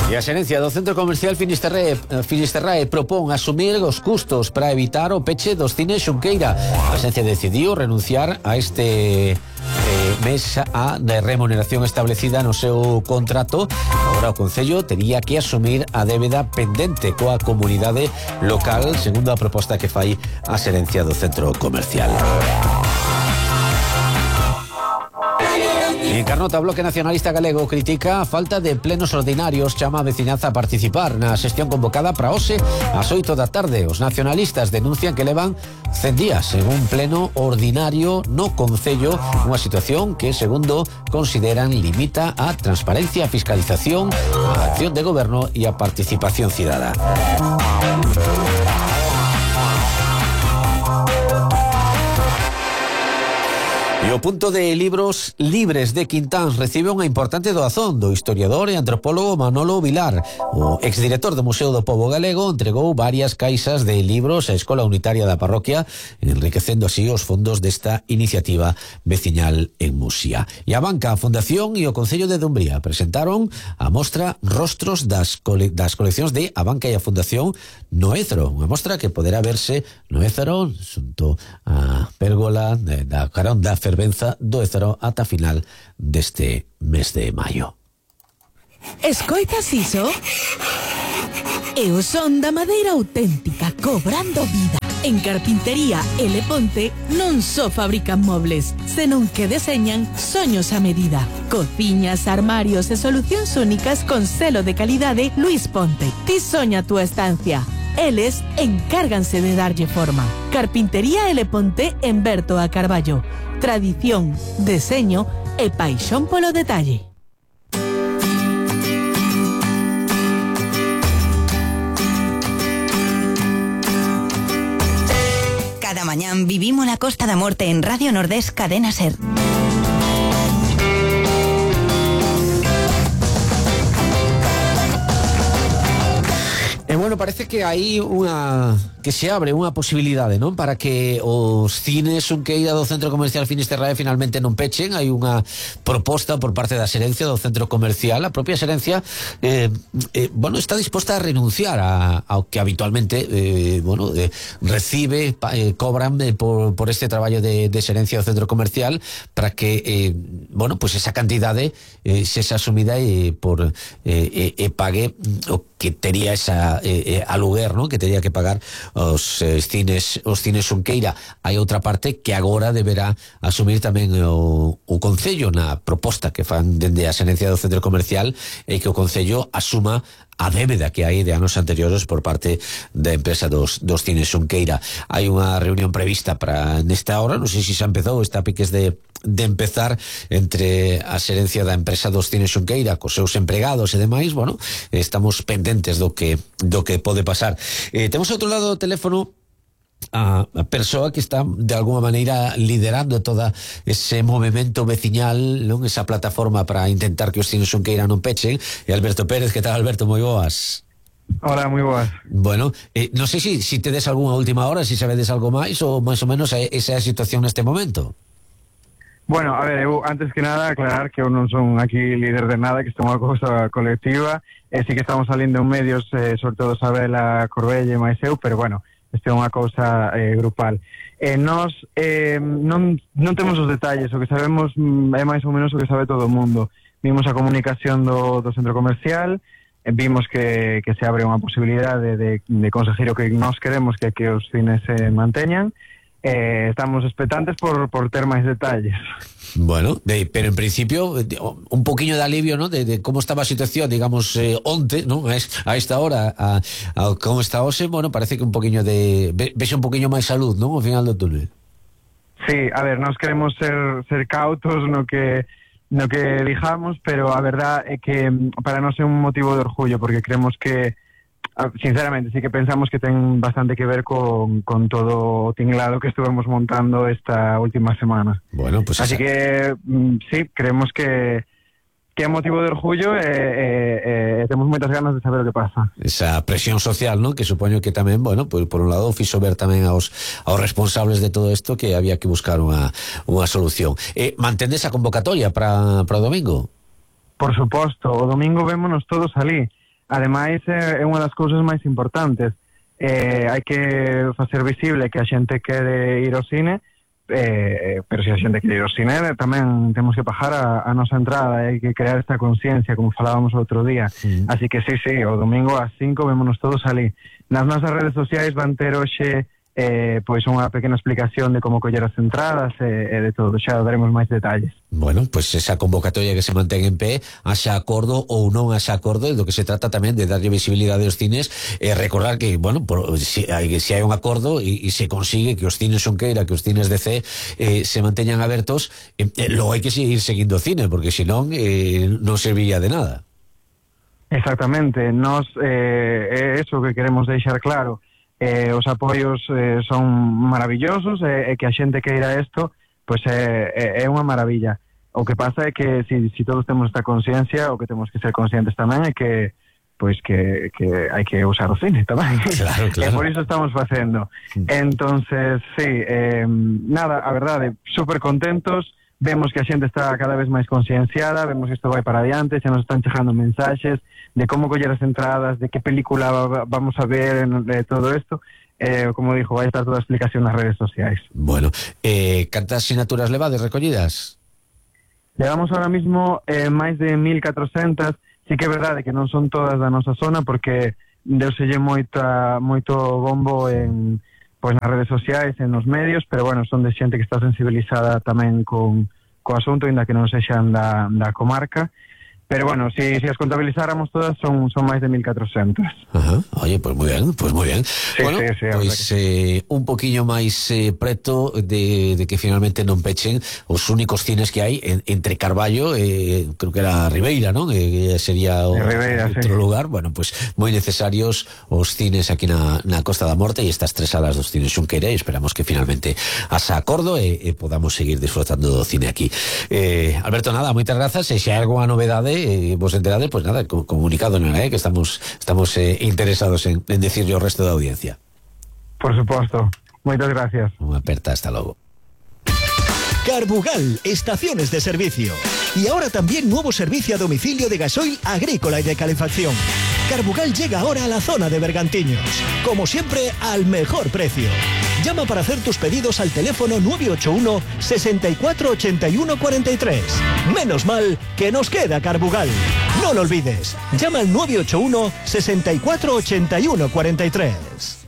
E a xerencia do Centro Comercial Finisterrae propón asumir os custos para evitar o peche dos cines Xunqueira. A xerencia decidiu renunciar a este mes a remuneración establecida no seu contrato. Agora o Concello tería que asumir a débeda pendente coa comunidade local, segundo a proposta que fai a xerencia do Centro Comercial. En Carnota, o Bloque Nacionalista Galego critica a falta de plenos ordinarios, chama a veciñanza a participar na sesión convocada para hoxe ás 8 da tarde. Os nacionalistas denuncian que levan 100 días en un pleno ordinario no Concello, unha situación que, segundo consideran, limita a transparencia, a fiscalización, a acción de goberno e a participación cidadá. E o punto de libros libres de Quintáns recibe unha importante doazón do historiador e antropólogo Manolo Vilar. O exdirector do Museo do Pobo Galego entregou varias caixas de libros á Escola Unitaria da Parroquia, enriquecendo así os fondos desta iniciativa veciñal en Muxía. E a Banca, a Fundación e o Concello de Dumbría presentaron a mostra Rostros das coleccións de a Banca e a Fundación no Ézaro, unha mostra que poderá verse no Ézaro xunto a pérgola da carón da fervenza do Ézaro ata final deste mes de maio. Escoitas iso? É o son da madeira auténtica cobrando vida. En Carpintería L. Ponte non só fabrican mobles, senón que deseñan soños a medida. Cociñas, armarios e solucións únicas con selo de calidade Luis Ponte. Ti soña a túa estancia. Eles encárganse de darlle forma. Carpintería L. Ponte en Berto a Carballo. Tradición, deseño e paixón polo detalle. Cada mañán vivimos la Costa da Morte en Radio Nordés Cadena Ser. Bueno, parece que hai que se abre unha posibilidade, non? Para que os cines Xunqueira do Centro Comercial Finisterrae finalmente non pechen. Hai unha proposta por parte da xerencia do Centro Comercial. A propia xerencia está disposta a renunciar ao que habitualmente recibe, cobran por este traballo de xerencia do Centro Comercial, para que esa cantidade sexa asumida e pague o que tería esa aluguer, ¿no? Que tería que pagar os cines Xunqueira. Hai outra parte que agora deberá asumir tamén o Concello na proposta que fan dende a xerencia do Centro Comercial, e que o Concello asuma a débeda que hai de anos anteriores por parte da empresa dos cines Xunqueira. Hai unha reunión prevista para nesta hora, non sei se xa empezou, está a piques de empezar, entre a xerencia da empresa dos cines Xunqueira cos seus empregados e demais. Bueno, estamos pendentes do que pode pasar. Temos outro lado do teléfono a persoa que está de alguma maneira liderando toda ese movimento veciñal, non? Esa plataforma para intentar que os cines Xunqueira non pechen. E Alberto Pérez, que tal, Alberto? Moi boas. Hola, moi boas. Bueno, non sei se tedes algunha última hora, se sabedes algo máis, ou máis ou menos esa é a situación neste momento. Bueno, a ver, eu antes que nada aclarar que eu non son aquí líder de nada, que isto é unha cousa colectiva, sí que estamos salindo en medios, sobre todo Sabela Corbelle e máis eu, pero bueno, isto é unha cousa grupal. Nós non temos os detalles, o que sabemos é máis ou menos o que sabe todo o mundo. Vimos a comunicación do centro comercial, vimos que se abre unha posibilidade de conseguir o que nós queremos, que os cines se manteñan. Estamos expectantes por ter máis detalles. Bueno, pero en principio un poquinho de alivio, ¿no? De como estaba a situación, digamos, onte, ¿no? A esta hora, a como está hoxe. Bueno, parece que un poquinho vexe un poquinho máis salud, ¿no? Ao final do túnel. Sí, a ver, nós queremos ser cautos no que dijamos, pero a verdad é que para nós é un motivo de orgullo, porque creemos que, sinceramente, sí que pensamos que ten bastante que ver con todo o tinglado que estuvemos montando esta última semana. Bueno, pues así que sí, creemos que é motivo de orgullo e temos moitas ganas de saber o que pasa. Esa presión social, ¿no? Que supoño que tamén, bueno, pues, por un lado fixo ver tamén aos responsables de todo isto que había que buscar unha solución. Mantendes a convocatoria para o domingo? Por suposto, o domingo vémonos todos alí. ademais é unha das cousas máis importantes. Hai que facer visible que a xente quere ir ao cine, pero se a xente quere ir ao cine tamén temos que pagar a nosa entrada, hai que crear esta conciencia, como falábamos outro día. Así que sí, o domingo ás 5 vémonos todos ali. Nas nosas redes sociais van ter hoxe pois unha pequena explicación de como coller as entradas e de todo, xa daremos máis detalles. Bueno, pues esa convocatoria que se mantén en pé, haxa acordo ou non haxa acordo, do que se trata tamén de darlle visibilidade aos cines, e recordar que, bueno, se hai un acordo e se consigue que os cines Xunqueira, que os cines de C se manteñan abertos, logo hai que seguir seguindo o cine, porque senón non serviría de nada. Exactamente, nos é eso que queremos deixar claro. Os apoios son maravillosos, e que a xente queira isto, pois é unha maravilla. O que pasa é que si todos temos esta conciencia, o que temos que ser conscientes tamén é que pois que hai que usar o cine tamén. Claro. E por iso estamos facendo. Entonces, sí, nada, a verdade, super contentos. Vemos que a xente está cada vez máis concienciada, vemos que isto vai para adiante, xa nos están chegando mensaxes de como coller as entradas, de que película vamos a ver, de todo isto. Como dixo, vai estar toda a explicación nas redes sociais. Bueno, cantas sinaturas levades recollidas? Levamos ahora mismo máis de 1.400, sí que é verdade que non son todas da nosa zona, porque deuselle moito bombo en... pois nas redes sociais, en os medios, pero bueno, son de xente que está sensibilizada tamén co asunto, ainda que non sexan da comarca. Pero bueno, si as contabilizáramos todas son máis de 1.400. Ajá. Oye, pues muy bien. Sí, bueno, sí, pues un poquillo máis preto de que finalmente non pechen os únicos cines que hai entre Carballo, creo que era Ribeira, non? Sería Ribeira, outro sí. lugar. Bueno, pues moi necesarios os cines aquí na Costa da Morte, e estas 3 salas dos cines Xunqueira, e esperamos que finalmente haxa acordo e podamos seguir disfrutando do cine aquí. Alberto, nada, moitas grazas, e se hai algunha novedade vos enterade, pues nada, comunicado, ¿no? Que estamos interesados en decirle ao resto da audiencia. Por suposto. Moitas gracias. Unha aperta, hasta logo. Carbugal, estaciones de servicio. Y ahora también nuevo servicio a domicilio de gasoil agrícola y de calefacción. Carbugal llega ahora a la zona de Bergantiños. Como siempre, al mejor precio. Llama para hacer tus pedidos al teléfono 981 64 81 43. Menos mal que nos queda Carbugal. No lo olvides. Llama al 981 64 81 43.